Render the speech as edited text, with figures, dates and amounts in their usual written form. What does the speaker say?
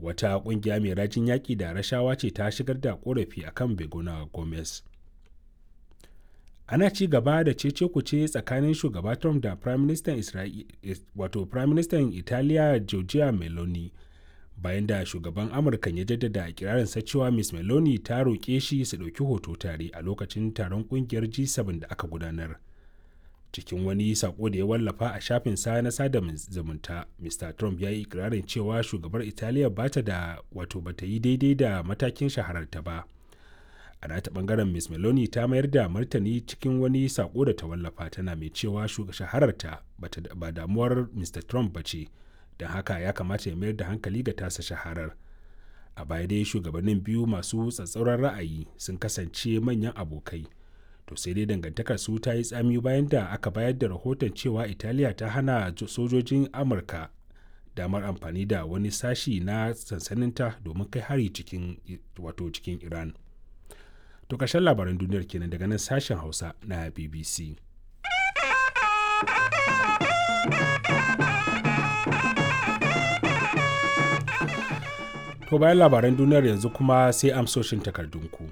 Wata ƙungiya mai rajin yaƙi da rashawa ce ta shigar da ƙorafi akan Begona Gomez. Ana ci gaba da cece kuce tsakanin shugaba Trump da Prime Minister wato Prime Minister Italiya Giorgia Meloni bayan da shugaban Amurka ya jaddada ikirarinsa cewa Ms. Meloni ta roƙe shi su ɗauki hoto tare a lokacin taron ƙungiyar G7 da aka gudanar. Cikin wani sako da ya wallafa a shafin sa na sada zumunta, Mr. Trump ya yi ikirarin cewa shugabar Italiya ba ta da wato ba ta yi daidai da matakin shahararta ba. A nata bangaren, Ms. Meloni ta mayar da martani cikin wani sako da ta wallafa, tana mai cewa shahararta ba damuwar Mr. Trump ba ce, don haka ya kamata ya mayar da hankali ga tasa shaharar. A baya dai shugabannin biyu masu tsatsauran ra'ayi sun kasance manyan abokai. To sai dai dangantakar su ta yi tsami bayan da aka bayar da rahoton cewa Italiya ta hana sojojin Amurka damar amfani da wani sashi na sansaninta domin kai hari cikin wato cikin Iran. To ƙarshen labaran duniyar kenan daga nan sashen Hausa na BBC. To bayan labaran duniyar yanzu kuma sai amsoshin takardunku.